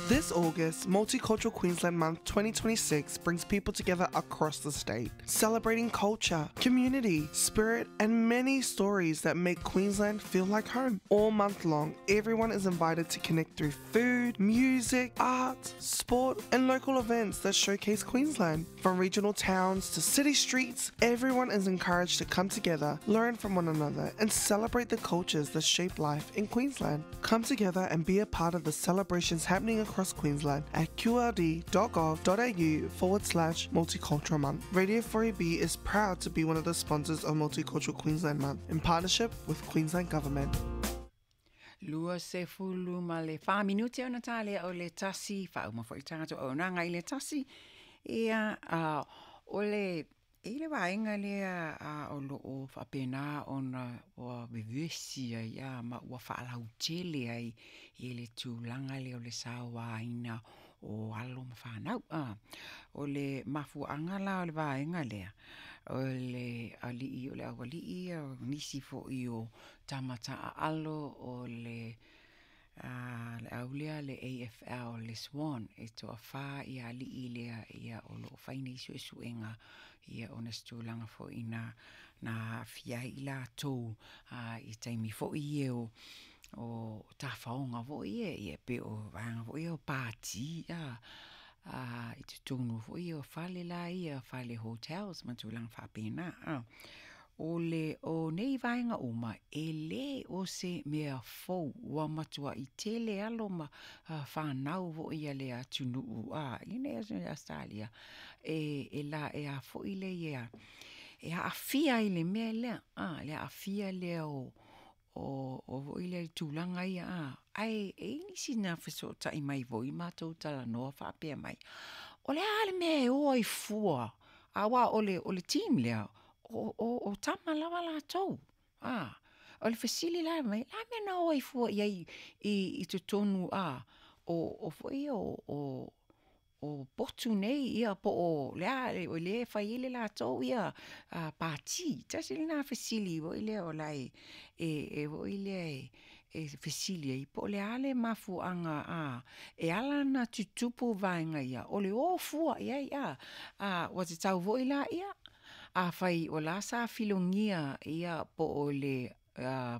This August, Multicultural Queensland Month 2026 brings people together across the state, celebrating culture, community, spirit, and many stories that make Queensland feel like home. All month long, everyone is invited to connect through food, music, art, sport, and local events that showcase Queensland. From regional towns to city streets, everyone is encouraged to come together, learn from one another, and celebrate the cultures that shape life in Queensland. Come together and be a part of the celebrations happening across Queensland at qld.gov.au/multicultural month. Radio 4AB is proud to be one of the sponsors of Multicultural Queensland Month in partnership with Queensland Government. 24 minute ona tā lea o le tasi, whauma foi tātou o nanga i le tasi. Ia, o le, i le vaega lea a o loo faapena ona ua vevesi ai a ma ua faalautele ai i le tulaga lea o le sauaina o alo ma fanau. O le mafuaaga la o le vaega lea, o le alii o le aualii o nisi foi o tama taaalo o le le au lea le AFL le Swan e toafa ia alii lea ia o loo fai nei suesuega ia ona se tulaga foi na aafia ai i latou i taimi foi ia o tafaoga foi ia ia pe o vaega foi ia o pati i totonu foi ia o fale la ia fale hotels ma tulaga faapena. O le o nei vaega uma e lē o se mea fou ua matuai tele alo ma fanau foi a le atunuu i nei Ausetalia e la e a foi le ia e aafia ai le mea lea le aafia lea o foi lea tulaga ia ae e i ai nisi na fesootai mai foi matou talanoa faapea mai o le a le mea e o ai fua aua o le team lea o tama lava latou. O le fesili la mai, la mea na o ai fua i ai i totonu o foi o potu nei ia po o lea o le fai ai le latou ia pati. Tasi lena fesili foi lea o la e foi lea e fesili ai po o le a le mafuaaga e ala ona tutupu vaega ia o le o fua i ai ua tatau foi la ia afai o la sa filogia ia po o le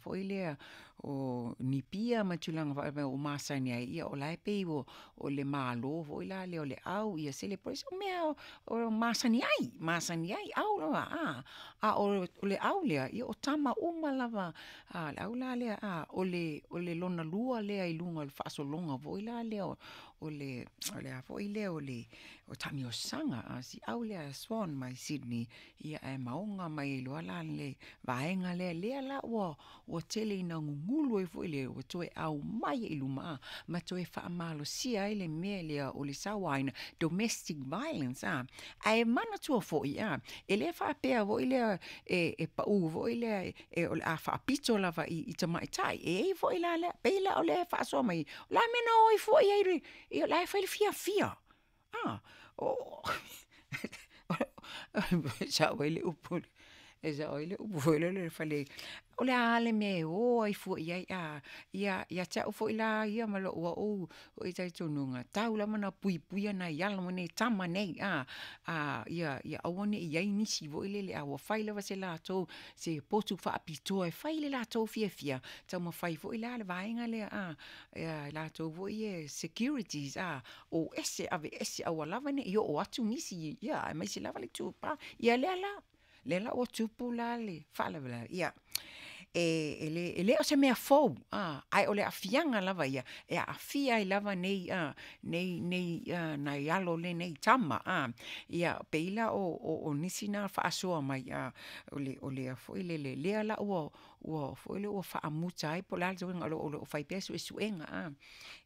foi lea o nipia ma tulaga faapea o masani ai ia o la e pei o le malo foi la lea o le au ia celebrate o mea o masani ai au lava a o le au lea ia o tama uma lava le au la lea o le lona lua lea i luga o le faasologa foi la lea o le a foi lea o le taamiosaga si au lea Swan mai Sydney ia ae maoga mai ai loa la le vaega lea lea la ua tele ina gugulu ai foi lea ua toe aumai i luma ma toe faamalosia ai le mea lea o le sauaina domestic violence ae manatua foi e le faapea foi lea e pau foi lea e o le a faapito lava i tamaitai e ai foi la lea pei la o le faasoa mai o le a mea na o ai foi ai ia la e fai le fiafia sao ai le upu e sao ai le upu foi lele fale o le a le mea e o ai fua i ai ia ia te au foi la ia ma lou au o i talitonuga tau lava na puipuia nai alo ma nei tama nei ia ia aua ne i ai nisi foi lele a ua fai lava se latou se potu faapitoa e fai le latou fiafia taumafai foi la le vaega lea ia latou foi e securities o ese ave ese aua lava ne i oo atu nisi ia aemaise lava le tupa ia lea la ua tupu la le faalavelave ia e le o se mea fou ae o le aafiaga lava ia e aafia ai lava nei nei nai alo lenei tama ia pei la o nisi na faasoa mai o le foi lele lea la ua foi lea ua faamuta ai po o le a le tulaga o lo o fai pea suesuega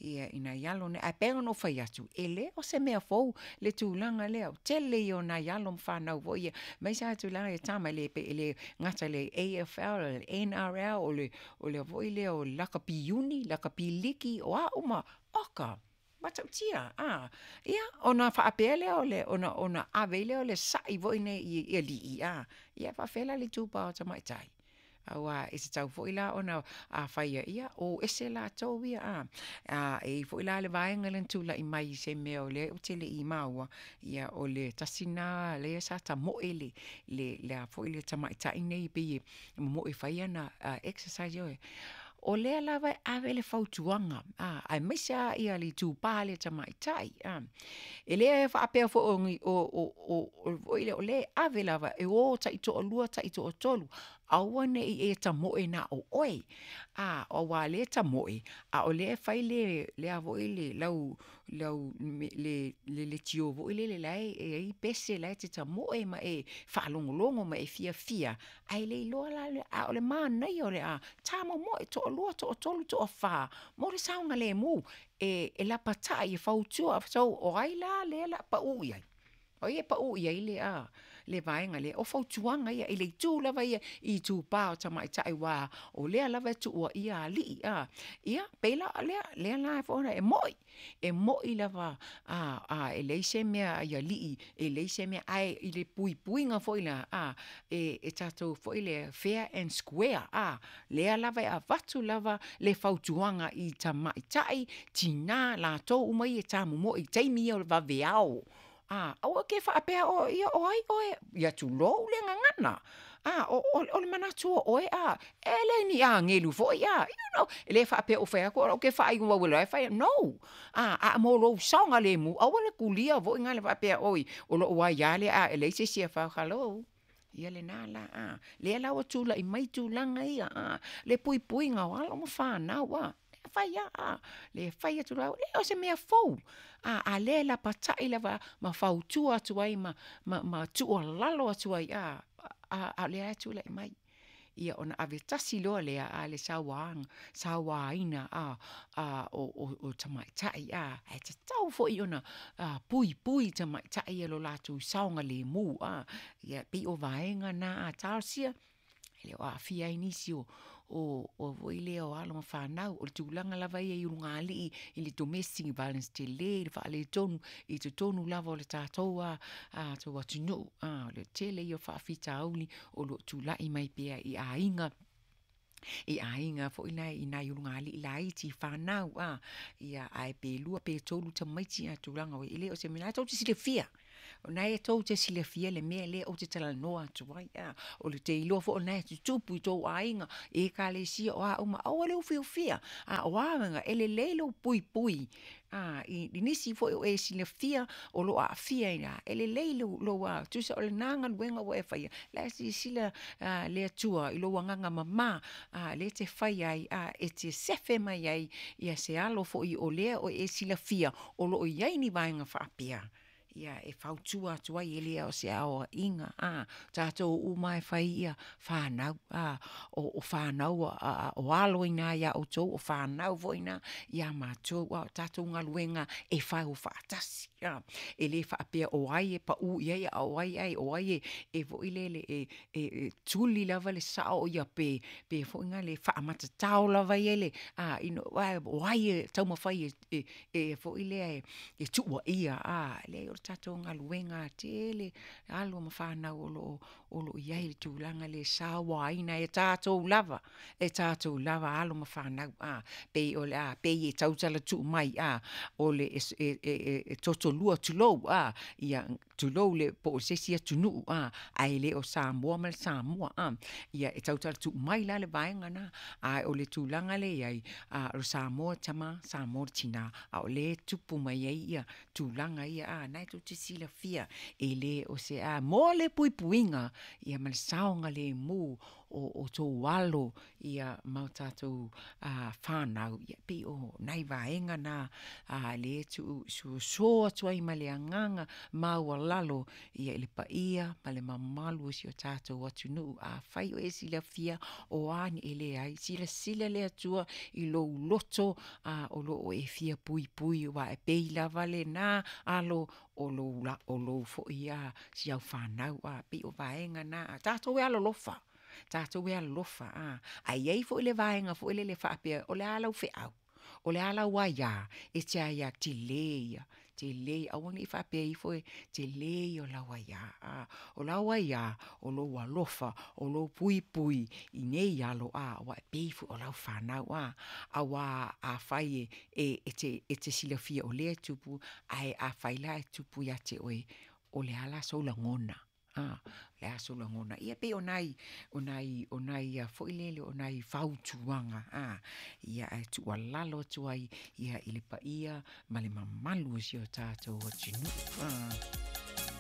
ia i nai alo nei ae pei ona ou fai atu e le o se mea fou le tulaga lea o tele ia o nai alo ma fanau foi ia aemaise lava tulaga i tama e le gata i le AFL, o le NRL, o le foi lea o le lakapi iuni, lakapi liki, o a uma oka matautia ia ona faapea lea o le ona ave lea o le sai foi nei i alii ia faapefea la le itupa o tamaitai. Auā e tatau foi la ona a fai ia, o ese latou ia, a. A e i ai foi la le vaega lea na tulai mai i se mea o lea ou te le i maua, ia o le tasi lena lea sa tamoe le le a foi le tamaitai nei pei e momoe e fai ana exercise, ioe. O lea lava e ave le fautuaga, aemaise lava le itupa lea i tamaitai, e le faapea foi o lea e ave lava e o taitoalua taitoatolu, aua ne i e tamoe na o oe, aua o lea e tamoe a o lea e fai le a foi le lau leitio foi lele la e i ai pese la e te tamoe ma e faalogologo ma e fiafia, ae le iloa la, a o le manaia o le tamomoe, toalua, toatolu, toafa mo le saogalemu, e lapatai e fautua. So, o ai la lea o le a pau i ai? O ai e pau i ai le vaega lea? O fautuaga ia i le itu lava ia i itupa o tamaitai aua o lea lava e tuuaia alii. Ia, pei la o lea, lea la e moni, e moni lava e leai se mea i alii, e leai se mea, ae i le puipuiga foi la, e tatou foi lea, fair and square, lea lava e avatu lava le fautuaga i tamaitai, tina, latou uma ia e tamomoe i taimi ia o le vaveao, aua e te faapea ia o ai oe, ia tulou le gagana, o le manatu o oe e le ni agelu foi, you know, e le faapea ua fai atu au ou te faaigoa o la e fai, no. A mo lou saogalemu, aua le tulia foi lea faapea oi o lou aia lea, a leai se isi e fai, hello, ia lena la, a. Lea la ua tulai mai tulaga ia, le puipuiga o alo ma fanau, e fai lava, le fai atu lava, e le o se mea fou, a o lea e lapatai lava ma fautua atu ai ma tuualalo atu ai, a o lea lava e tulai mai. Ia ona ave tasi loa lea le sauaina o tamaitai, ae tatau foi ona puipui tamaitai ia i lo latou saogalemu. Ia pei o vaega na, a talosia e le o aafia ai nisi o alo ma fanau. O le tulaga lava ia i ulugalii i le domestic violence tele le faaletonu i totonu lava o le tatou atunuu. O le tele ia o faafitauli o lo o tulai mai pea i aiga, i aiga foi nei i nai ulugalii laiti, fanau, ia ae pe 2 pe 3 tamaiti a tulaga e le o se mea, o lena tou te silafia, o lena e tou te silafia le mea lea ou te talanoa atu ai, o le te iloa foi o lena e tutupu i tou aiga, i ekalesia, o a uma, aua le ufiufia, a o a mea, e lelei lou puipui i nisi foi o e silafia o lo o aafia i ina, e lelei lou, tusa o lena galuega ua e faia, o la e silasila le Atua i lou agaga mama, lea e te fai ai, e te sefe mai ai se alo foi o lea o e silafia o lo o i ai ni vaega faapea, ia e fautua atu ai, e le o se aoaiga, tatou uma e fai ia fanau, o fanau o alo ina ia outou, o fanau foi ina ia matou, o tatou galuega e fai o faatasi, e le faapea o ai e pau i ai, a o ai ai, o ai e foi lele e tuli lava le sao ia pe foi na le faamatatao lava ia le, o ai e taumafai e foi lea e tuuaia, leai o le tatou galuega tele, alo ma fanau o lo o i ai i le tulaga lea e sauaina e tatou lava, e tatou lava alo ma fanau, pei o le a, pei e tautala tuu mai, o le e totolua, tulou, ia tulou le po o se isi atunuu, ae le o Samoa ma le Samoa, ia e tautala tuu mai la le vaega lena, ae o le tulaga lea e i ai, o le Samoa le tama, Samoa le tina, a o lea e tupu mai ai ia tulaga ia, na e tou te silafia, e le o se a, mo le puipuiga ia ma le saogalemu o tou alo ia ma o tatou fanau, ia pei o nai vaega na lea e tuusoso atu ai ma le agaga maualalo ia i le paia ma le mamalu o si o tatou atunuu. Afai o e silafia o a ni e leai, silasila le Atua i lou loto o lo o e fia puipui, aua e pei lava lena alo o lou foi si au fanau, pei o vaega na, tatou e alolofa, tatou e alolofa, ae i ai foi le vaega foi lele faapea, o le a lau feau, o le a lau aia, e te aia tele ia. Tele ia, aua ne i faapea ifo e tele ia o lau aiā, a. O lau aiā, o lou alofa, o lou puipui i nei alo, a, aua e pei foi o lau fanau, a. Auā afai e, e, e te, e te silafia o lea e tupu, ae afai la e tupu ia te oe, o le a la sou lagona? A, o le a sou lagona? Ia pei o nai, o nai, o nai a foi lele o nai fautuaga, a, ia ae tuualalo atu ai, ia i le paia ma le mamalu o si o tatou atunuu, a.